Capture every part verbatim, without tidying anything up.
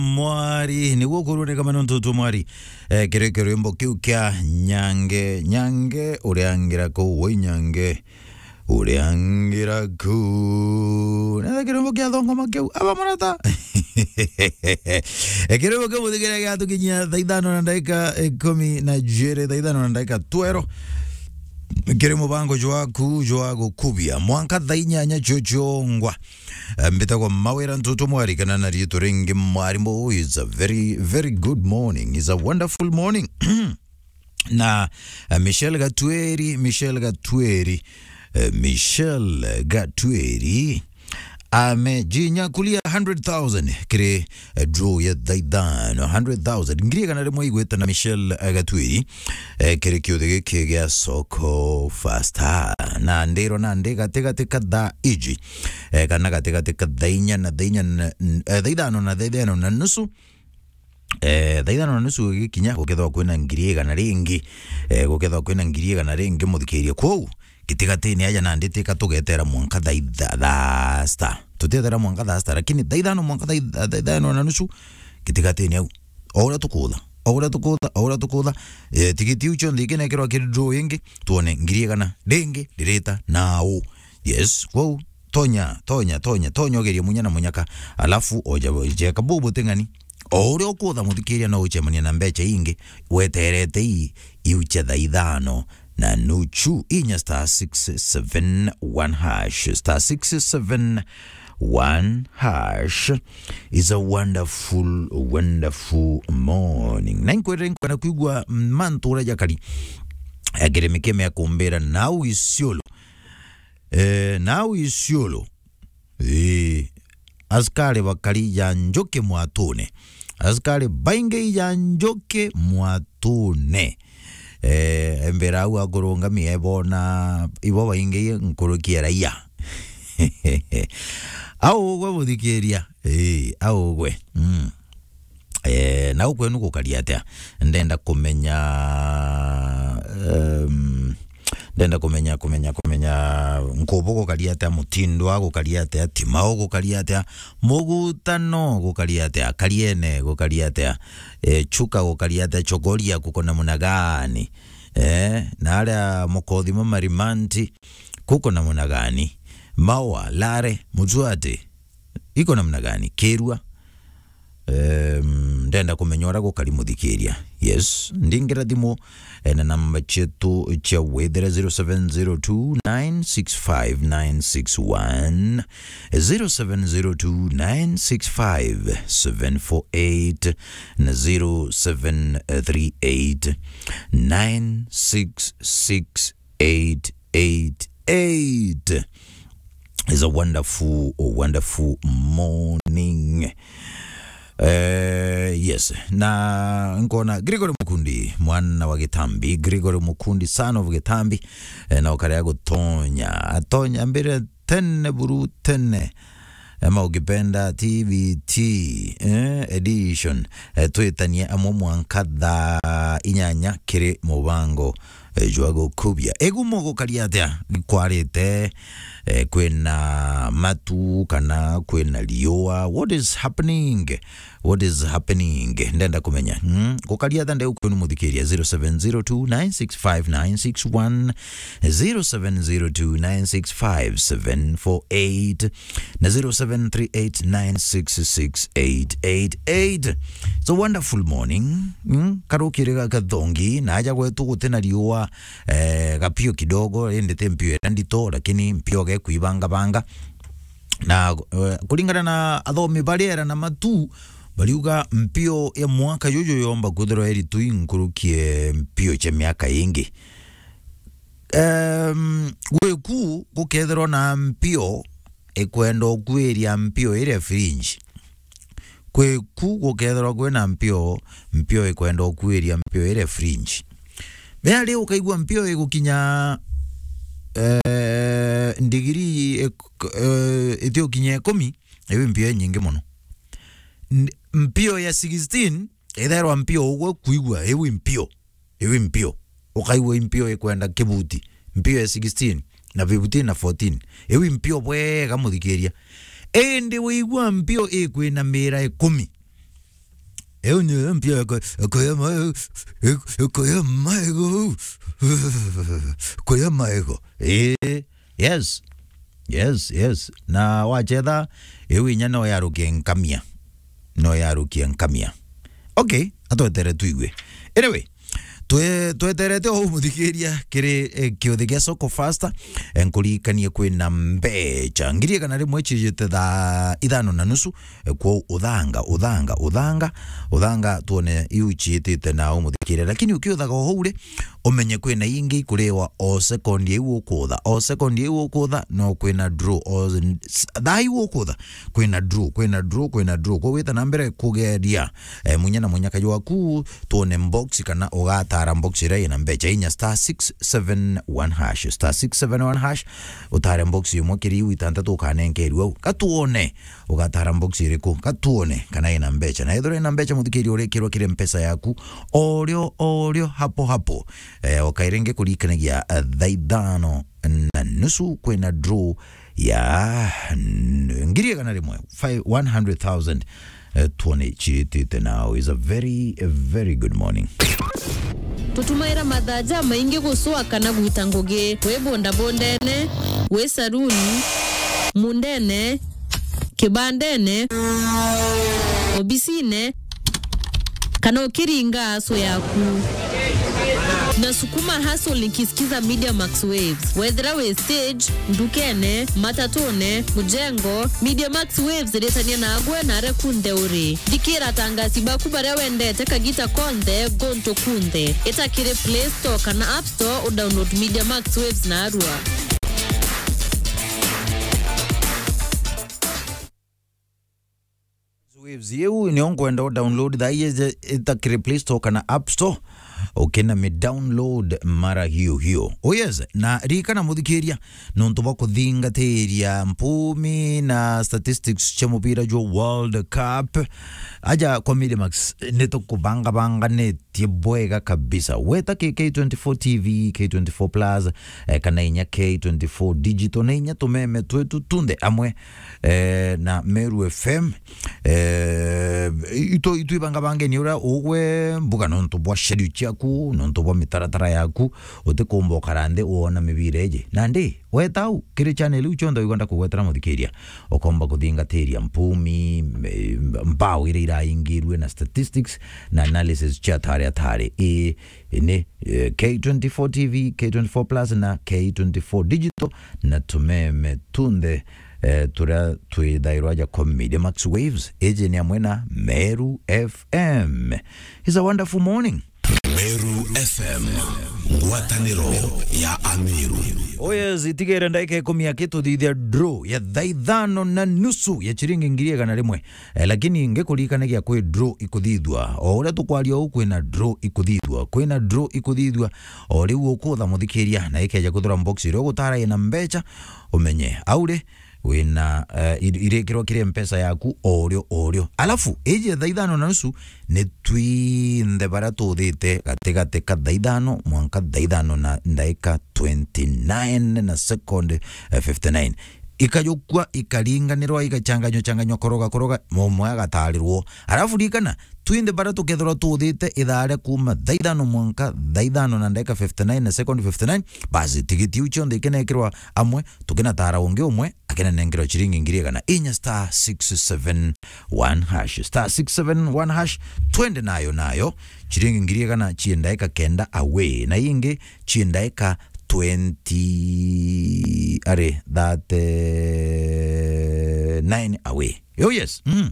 Mwari, niguo kuruneka mano ntutu mwari. Eh, kiri kirwimbo kiu kia Nyange, Nyange, uria ngira kuu, woi Nyange, uria ngira kuu. Na kirwimbo kia thongoma kiu, aba murata. Eh, kirwimbo kiu muthikire giatukinyia thaa ithano na ndagika ikumi na ijiri, thaa ithano na ndagika twero. Kiri mubango jwaku jwa gukubia mwanka thaa inyanya cio ciongwa. Eh, mbitagwa Mawira Ntutu Mwari, kana na riitwa ringi Mwarimu. It's a very, very good morning. It's a wonderful morning. Na, eh, Michelle Gatweri, Michelle Gatweri, eh, Michelle Gatweri amejinyakulia hundred thousand kiri, eh, draw ya thaa ithano, hundred thousand. Ngiri igana rimwe igwite na Michelle, eh, Gatweri, eh, kiri kiuthi giki gia Soko Fasta. Na ndiro na ndi gatigati ka thaa iji, eh, kana gatigati ka thaa inya na thaa inya na, n-, eh, thaa ithano na thaa ithano na nusu. Eh, thaa ithano na nusu gikinya, gukethwa kwina ngiri igana ringi, eh, gukethwa kwina ngiri igana ringi, muthikiria. Kwou, gitigatini aja nandi tika tugetera mwanka thaa itha-, thaa sita. Tutietera mwanka thaa sita, lakini thaa ithano mwanka thaa itha-, thaa ithano na nusu, gitigatini au. O uria tukutha, o uria tukutha, o uria tukutha, eh, tigiti iu cionthe ikinekirwa kiri draw ingi, tuone ngiri igana ringi ririta nau. Yes, kwou, tonya, tonya, tonya, tonya ugerie munya na munyaka, alafu oja, jeka bubu ting'ani. O uria ukutha muthikiria no uchemania na mbecha ingi, weterete ii, iu cia thaa ithano na nuchu, inya star six seven one hash, star six seven one hash. Is a wonderful, wonderful morning. Na inkwere nkwenda kwigua mantu uria jakari. Agere mikeme ya kumbira nau Isiolo. Eh, nau Isiolo. Eh, askari bakari ja njuki mwatune. Askari baingi ja njuki mwatune. Eh, embera au akurungamia ebona ibo baingi nkuruki ya raia. Au ugwe muthikiria. Eh, au ugwe. Mm. Eh, nau kwenu gukari atia? Ndenda kumenya, em, ndenda kumenya, kumenya, kumenya Nkubu gukari atia, Mutindwa gukari atia, Timau gukari atia, Mugutano gukari atia, Kariene gukari atia, eh, Chuka gukari atia, Chogoria kuko namna gani? Eh, na aria Mukothima Marimanti kuko namna gani? Maua, Lare, Mutuati, iko namna gani? Kirua, Em, ndenda kumenya uria gukari muthikiria. Yes, ndingira thimu, eh, na namba cietu cia withira zero seven zero two nine six five nine six one, zero seven zero two nine six five seven four eight na zero seven three eight nine six six eight eight eight. It's a wonderful, wonderful morning. Eh, yes. Na nkona Gregory Mukundi, mwana wa Gitambi, Gregory Mukundi, son of Gitambi, eh, na ukarea gutonya. Atonya mbere tene buru tene. Ama ukipenda T V T, eh, edition. Eh, twitanie amwe mwanka thaa inyanya kiri mubango, eh, jwa gukubia. Egumo gukari atia? Kwarite, eh, kwina matu kana kwina riua? What is happening? What is happening? Ndenda kumenya. Hmm? Gukari atia ndeu kwenu muthikiria? Zero seven zero two nine six five nine six one, zero seven zero two nine six five seven four eight, na zero seven three eight nine six six eight eight eight. It's a wonderful morning. Mm, karukiri ga kathongi, na aja gwetu gutina riua, eh, gapio kidogo, indi ti mpio iria ndito, lakini mpio ge kuibangabanga. Na, eh, kuringana na athomi ba riera na matu, bariuga mpio ya mwaka juju yomba kwithirwa iri tu inkurukie mpio cia miaka ingi. Em, gwiku gukethirwa na mpio ikwenda ukwiria mpio iria fringe. Kwiku gukethirwa kwina mpio, mpio ikwenda ukwiria mpio iria fringe. Mea riu ukaigua mpio igukinya, eh, ndigiri ik-, eh, itiukinya ikumi, iu mpio inyingi mono. N-, mpio ya sixteen, itherwa mpio ugwe kuigua, iu mpio. Iu mpio. Ukaigua mpio ikwenda kibuti. Mpio ya sixteen na fifteen na fourteen. Iu mpio bwega muthikiria. Indi wigua mpio ikwina mira ikumi. Iu ni mpia ko-, koya ma-, koya maego. Koya maego. Eh, yes. Yes, yes. Na wachetha, iu inya no yarukie nkamia. No yarukie nkamia. Okay, atwetere tuigue. Anyway, twe-, tweterete o muthikiria kiri, eh, kiuthi gia Soko Fasta, eh, nkuririkanie kwina mbecha ngiri igana rimwe cijite thaa ithano na nusu, eh, kwou uthanga, uthanga, uthanga, uthanga, tuone iu ciitite na umuthikiria. Lakini ukiuthaga o hau ri, umenye kwina ingi ikuriwa o sekondi iu ukutha, o sekondi iu ukutha, no kwina draw, o s-, thaa iu ukutha, kwina draw, kwina draw, kwina draw. Kwou wita na mbere kugeria, eh, munya na munyakaji waku, tuone box kana ugatara box iria ina mbecha inya star six seven one hash, star six seven one hash, utare box imwe kiri iu itantatu ukanenkerua au. Katuone ugatara box iriku, katuone kana ina mbecha. Na ethirwa ina mbecha, muthikiria, urikirwa kiri mpesa yaku, orio, orio, hapo, hapo. Eh, ukairenge kurikanagia, eh, thaa ithano na nusu kwina draw ya n-, ngiri igana rimwe, five, one hundred thousand, eh, tuone ciitite now. Is a very, a very good morning. Tutumaira mathaa jamaingi gucua kana gwita ngugi, wi bondabondene, wi saruni, mundene, kibandene, obisine, kana ukiringa aso yaku. Na sukuma hustle nikisikiza Media Max Waves. Wethira wi stage, ndukene, matatune, mujengo, Media Max Waves iritania nagwe na aria kunthe uri. Thikira atangasi baku baria wendete kagita konthe, gontu kunthe. Ita kiri Play Store kana App Store udownload Media Max Waves narua. Waves iu nio nkwenda u download thaa ii, ita kiri Play Store kana App Store, ukina mi download mara hiyo hiyo. Oh yes, na ririkana muthikiria, nontu bwa kuthingatiria mpumi na statistics cia mubira jwa World Cup, aja kwa Media Max, nitukubangabanganitie bwega kabisa. Weta ki K twenty-four T V, K twenty-four Plus, eh, kana inya K twenty-four Digital, na inya tumeme twetu tunthe amwe, eh, na Meru F M. Eh, itu, itu ibangabangeni uria ugwe mbuga nontu bwa schedule ciaku, nontu bwa mitaratara yaku, utikumba ukara nthi uona mibira iji. Nandi, weta au, kiri channel iu cionthe wigwa ndakugwetera muthikiria, ukomba kuthingatiria mpumi, me-, mbao iria iraingirue na statistics na analysis cia tari atari. Ii, ini, eh, K twenty-four T V, K twenty-four Plus na K twenty-four Digital, na tumeme tunthe, eh, turia twithairwa aja kwa Media Max Waves, iji ni amwe na Meru F M. It's a wonderful morning. Meru F M, ngwataniro ya Ameru. Oh yes, itigere ndagika ikumi aki tuthithia draw ya thaa ithano na nusu ya chiringi ngiri igana rimwe. Eh, lakini ngikuririkanagia kwi draw ikuthithua. O uria tukwaria uu, kwina draw ikuthithua. Kwina draw ikuthithua. O riu ukutha muthikiria, na ikeja kuthura box iria ugutara ina mbecha, umenye au ri, wina, eh, ir-, irikirwa kiri mpesa yaku o rio o rio. Alafu, iji thaa ithano na nusu, ni twinthe baria tuthite gatigati ka thaa ithano mwanka thaa ithano na ndaika twenty-nine na second, eh, fifty-nine. Ikajukua, ikaringanirwa, igachanganywa, changanywa, koroga, koroga, umwe agatarirwo. Alafu ririkana, twinthe baria tukethirwa tuthite ithaa ria kuma thaa ithano mwanka thaa ithano na ndaika fifty-nine na second fifty-nine, basi, tigiti iu cionthe ikinekirwa amwe, tukinatara ungi umwe, akinenengerwa chiringi ngiri igana inya star six seven one hash, star six seven one hash, twende nayo, nayo, chiringi ngiri igana chie ndaika kenda away, na ingi chie ndaika twenty, ari, thirty-nine away. Oh yes. Mm.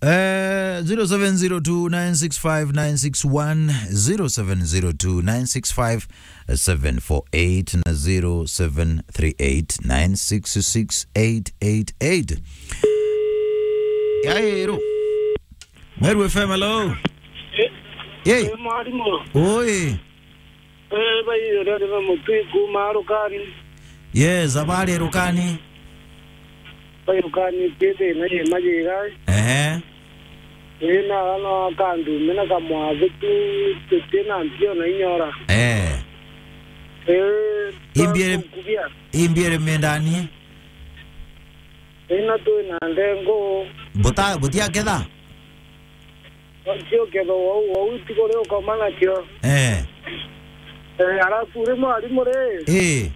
Eh, zero seven zero two nine six five nine six one, zero seven zero two nine six five seven four eight na zero seven three eight nine six six eight eight eight. Yaero. Meru F M, hello. Eh, yay. Eh, mwalimu. Oi. Eh, bai, rero na mutwi kuma Rukani. Yes, habari Rukani. Bai Rukani, tete na ye majiga. Ehe. Eh, na wana kandu, mena kamwathe tu, tete na mpio na inyora. Eh. Eh, imbiere, kubia. Imbiere mendani. Eh, na tu na ndengo. Buta, butia ketha? Cio ketho wau, wau itiko ri ukoma nacio. Eh. Eh, alafu ri mwarimu ri. Eh.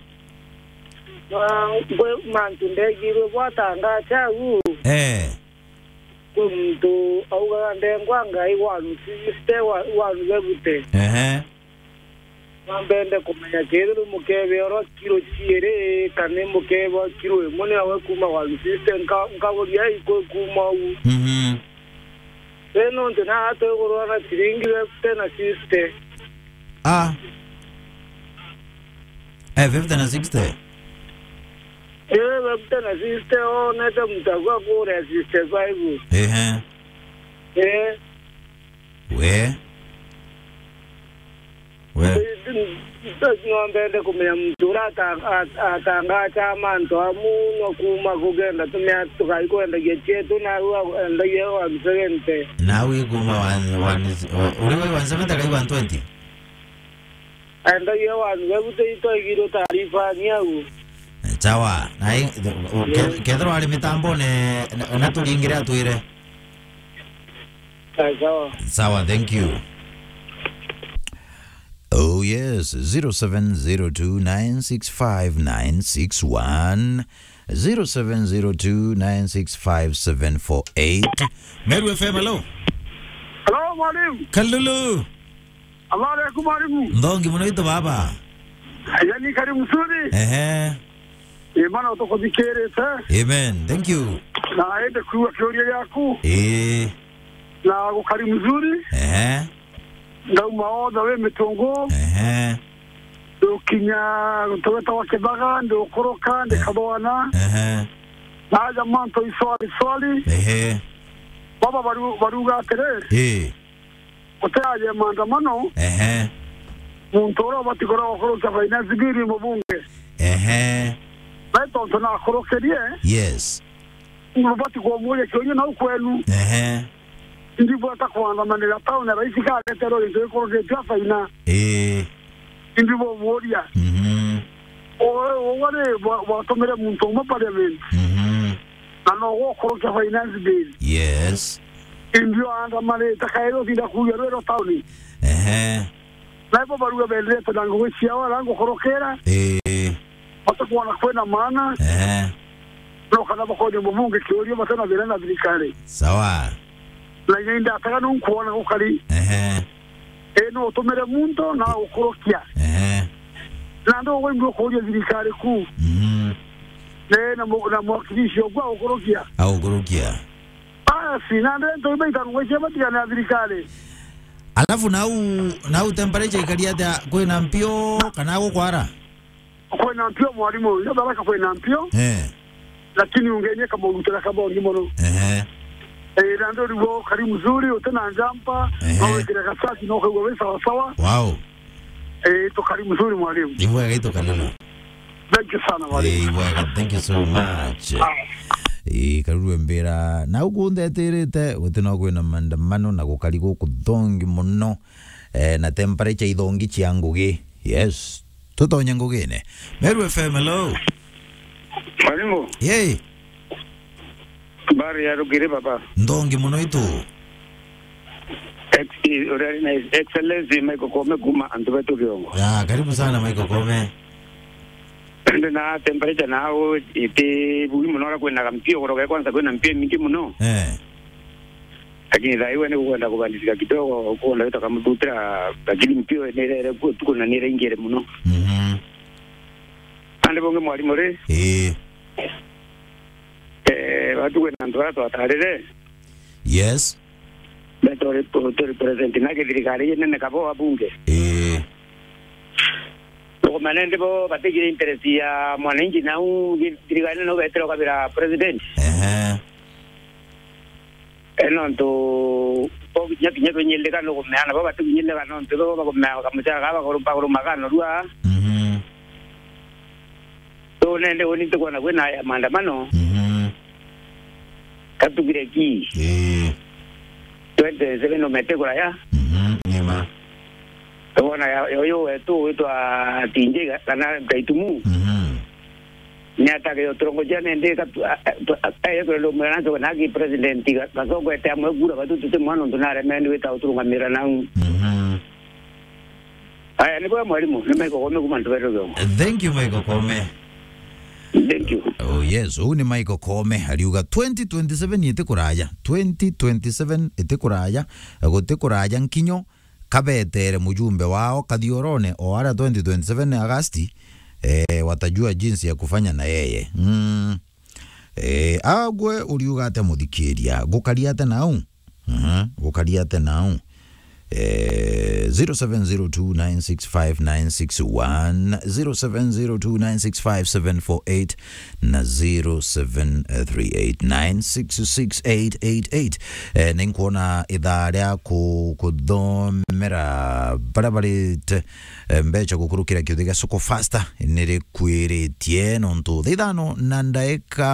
Ma-, ngwe mantu ndegirwe bwatanga chau. Eh. Kwi muntu augaga ndengwa Ngai one sixty, wa-, one seventy. Ehe. Nambende kumenya kethirwa mukebe oro kiro ciiri, kana mukebe kiro imwe ni awe kuma one sixty, nka-, nkaburia ikwi kuma uu. Mhm. Ri nontu na atwigurwa na ciringi fifty na sixty. Ah. Eh, fifty na sixty? Eh, fifty na sixty, onete mutagua kuria sixty-five. Ehe. Eh. We. We. Nontu no mbende kumenya muntu uria ata-, at-, atangacha mantu amu no kuma kugenda tumia tukai kwendagia chietu, na riu endagia one seventy. Nau ikuma one, one, uri we one seventy kai one twenty? Endagia one seventy, itwaigirwe taarifa ni au. Sawa. Na i-, ke-, kethirwa ari mitambone, na, na turingire atwire. Sawa, sawa. Sawa, thank you. Oh yes, zero seven zero two nine six five nine six one, zero seven zero two nine six five seven four eight. Meru F M, hello. Hello, mwalimu. Kalulu. Habari yaku, mwalimu? Nthongi muno itu baba. Yani, karibu mzuri. Ehe. Imana utukuthikirite. Amen. Thank you. Na ende kuigua kiuria giaku. Ii. Na gukari mzuri. Ehe. Ndauma othe wi mitungu. Ehe. Ndukinya tugeta wa Kibaga, ndukuruka, ndi Eh. Kathwana. Ehe. Na aja mantu iswali swali. Ehe. Baba baru-, baruga atiri. Ii. Gutiaje maandamano. Ehe. Muntu uria ubati kuria gukurukia finance bill ni mubunge. Ehe. Na tontu nakurukirie. Yes. Nubati kumuria kiuria nau kwenu. Ehe. Ndibwata kuandamanira tauni ya raisi kareterwo gintu gikurukitio afaina. Ii. Ndibumuria. Mhm. Uwe, uwe ri bwa-, bwatumire muntu umwe parliament. Mhm. Na no gukurukia finance bill. Yes. Indi andamanite kairi utinda kuugia rwiro tauni. Ehe. Na ibo baruga bendete na ngugi ciao ara ngukurukira. Ii. Batakwona kwina maana. Ehe. No kana bakoria mubunge kiuria batana thina na thirikari. Sawa. Na inya indataga nunkwona gukari. Ehe. Ii, no utumire muntu na gukurukia. Ehe. Na ndo ugwe mbu kuria thirikari ku. Mhm. Ne na mu-, na mwakilishi ogwa gukurukia. Agukurukia. Basi, na ndio ndio ibe itangu gweche batigana na thirikari. Alafu nau, nau temperature ikari atia, kwina mpio kana gukwara? Kwina mpio mwalimu, yo baraka kwina mpio. Eh. Lakini ungenie kama urutira kama uri muno. Ehe. Eh, na ndio riwo kari mzuri, utena njampa, Ehe. Na wekira kasati, na ukaigua wi sawa sawa. Wow. Eh, tukari mzuri mwalimu. Ibwega itukalulu. Thank you sana mwalimu. Eh, ibwega, thank you so much. Ah. Eh, Karuru Mbira, na uku ndetirite, guti no kwina maandamano na gukari guku thongi muno. Eh, na temperature ithongi cia ngugi. Yes. Tutonye ngugine. Meru F M, hello. Mwalimu. Yay. Habari ya rugiri baba. Nthongi muno itu. Ex-, i-, uria ari na Excellency Michael Koome kuma antu betu Kiongo. Ya, karibu sana Michael Koome. Ende na temperature na au iti bui muno, ora kwina mpio, kuroga kwanza kwina mpio mingi muno. Eh. Lakini thaa iwe ni kukwenda kubandisika kidogo, kukwenda wita kamututira, lakini mpio ni rere kuo tuko na ni rengere muno. Mhm. Ande bonge mwalimu ri? Eh. Eh, watu kwina antu ara twatarire. Yes. Beto ri, tu represent na githirikari inene kabo abunge. Eh. Tukumane ndi bo batigire interest ya mwananchi nau githirikari nau betire ukabira president. Ehe. E, nontu bo kinya, kinya tunyilika nukumea, nabo batikunyilika nontu bo bakumea kamuchara kaba bakuru-, bakurumaga norua. Mhm. So, nende uni ntikwona kwina ya maandamano. Mhm. Katugire ki? Ii. Twenty twenty-seven umete kuraya? Mhm, nima. Tukwona ya, ya uyu wetu witwa Tinje kana Gaitumu. Mhm. Ni atagire uturongo cia nende ka tu-, a-, a-, tu-, a-, a-, eyo turenda umwira nanke na ki president ga-, gacogwete amwe kura batu tuti mwana untu naremeni wita uturungamira nau. Mhm. Aya, ni bwa mwalimu, ni Michael Koome kuma Ntubero Giongo. Thank you, Michael Koome. Thank you. Oh, yes, uu ni Michael Koome, ariuga twenty twenty-seven iti kuraya. Twenty twenty-seven iti kuraya, guti kuraya nkinyo, kabetere mujumbe wao kathiorone o aria twenty twenty-seven Agasti, eh, watajua jinsi ya kufanya na yeye. Mm. Eh, agwe uriuga atia muthikiria? Gukaria atia nau? Mhm, gukaria atia nau? Eh, zero seven zero two nine six five nine six one, zero seven zero two nine six five seven four eight na zero seven three eight nine six six eight eight eight. Eh, ninkwona ithaa ria ku-, kuthomera baria barite, eh, mbeca gukurukira kiuthi gia Soko Faster nirikwiritie, nontu thaa ithano na ndaika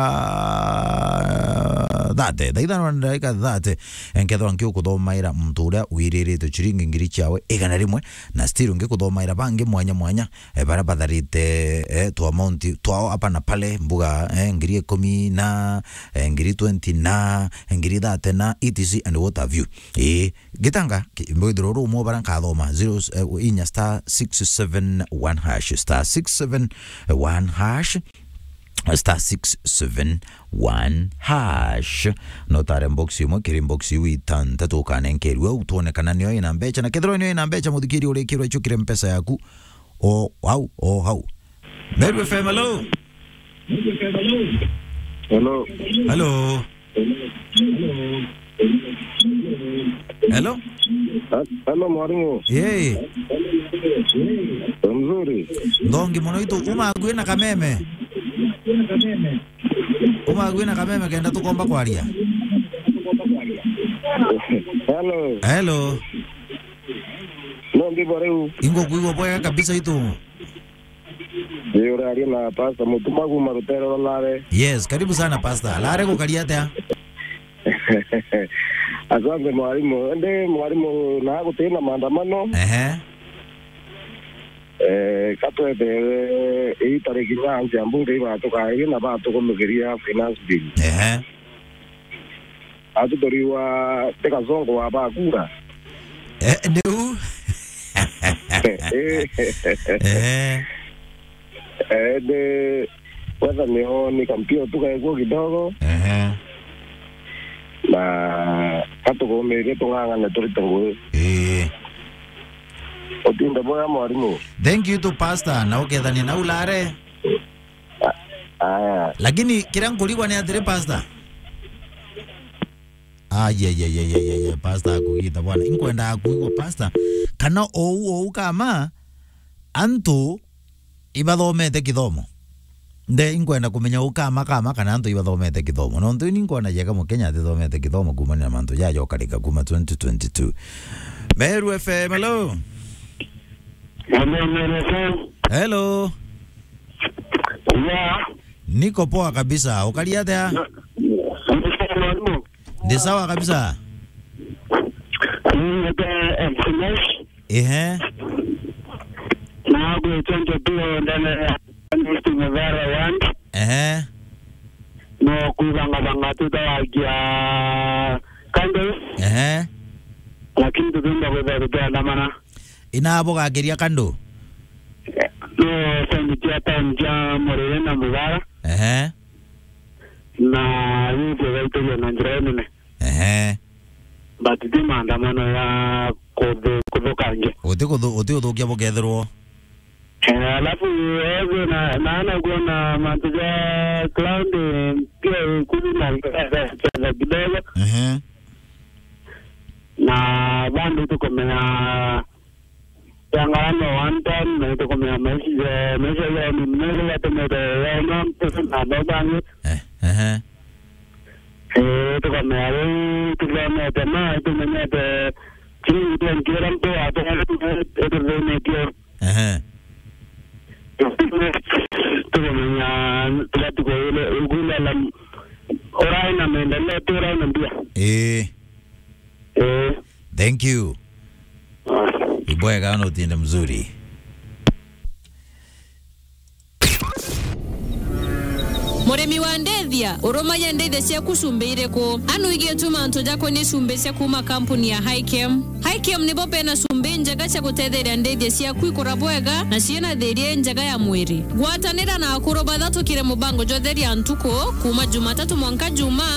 thirty, thaa ithano na ndaika thirty, nkethirwa nkiukuthomaira muntu uria wiriritie ciringi ngiri ciawe igana rimwe, na still ngikuthomaira bangi mwanya mwanya, eh, baria batharite, eh, tu amount twao apa na pale, mbuga, eh, ngiri ikumi na, eh, ngiri twenty na, ngiri thirty na, et cetera and what have you. Ii, gitanga, ki-, mbwithirwa uru umwe bara nkathoma, zero, eh, inya star six seven one hash, star six seven one hash, star six seven one hash. No tare box imwe kiri box iu itantatu ukanenkerua, u twone kana nio ina mbeca, na kethirwa nio ina mbeca, muthikiri urikirwa icukire mpesa yaku, o hau, o hau. Meru F M, hello. Hello. Hello. Hello. Ha-, hello, mwalimu. Yee. Mzuri. Ndongi muno itu, uma akui na kameme. Uma akui na kameme kenda tukomba kwaria. Hello. Hello. No, ndi bo riu. Ingo kuigwa bwega kabisa itu. Ni uraria na Pastor Mutuma kuma Rutere rwa Lare. Yes, karibu sana Pastor. Lare gukaria atia? Asante mwalimu. Ende mwalimu, na gutina maandamano. Ehe. Eh, katwetere ii tariki inya cia mbunge ibatukairi na batukumikiria finance bill. Ehe. Atutoriwa ti Kasongo wa bakura. Eh, niu. Eh. Eh. Eh, de, kwanza nio ni kampio tu kaikuo kidogo. Ehe. Na katukumirie tung'ang'ane turite ngugi. Eh. Utinde bwega mwarimu. Thank you to Pastor, na ukethania na ulare. Aya. Lakini kiria nkurigwa ni atiri, Pastor. Ai, ai, ai, ai, ai, ai, ai, Pastor akugita bwana. Inkwenda kuigwa, Pastor, kana ou, ou kama antu ibathomete kithomo. Nde inkwenda kumenya ou kama, kama kana antu ibathomete kithomo. Nontu ini nkwona jega Mukenya atithomete kithomo kumania na mantu jaja ukarika kuma twenty twenty-two. Meru F M, hello. Hello, Meru F M. Hello. Yeah. Niko poa kabisa. Ukari atia? Na, ni sawa, mwalimu. Ndi sawa kabisa. Ni ndio M C Nash. Ehe. Na gwitwa Njoturo ndene ya East Muvera Ward. Ehe. No kwibangabanga tutawagia candles. Ehe. Lakini tutiumba kwithira tukiandamana. Ina bugakiria kandu? No side cia town cia Murire na Mugara. Ehe. Na youth igaituria na njira nene. Ehe. But ti maandamano ya kuthu-, kuthukangia. Uti kuthu-, uti uthukia bukethirwo. Eh, alafu, eh, na, naona kuona mantu ja cloud, eh, pia, eh, kuri na cheza kidogo. Ehe. Na bado tukomea Yang'ano one time, na itukumenya maisha, maisha ya ni mnene ya tumete ya na mpesa na dobangi. Eh, ehe. Eh, tukamenya riu tuthomete ma, tumenyete chini ndio ngira mtu wa tena, tuthomete. Ehe. Tukamenya, tugatuka ile, ugula la, orai na maendeleo, tu orai na mbia. Eh. Eh. Thank you. Ah. Ibwega, no tiende mzuri. Murimi wa ndithia, urumagia ndithia ciaku cumbi iriku? Anu igie tu mantu jakonie cumbi cia kuuma kampuni ya Hikem. Hikem nibo bena cumbi njega cia gutetheria ndithia ciaku ikura bwega na ciina thiria njega ya mwiri. Gwatanira na akuru bathatukire mubango jwa Theria Ntuku, kuuma Jumatatu mwanka Jumaa,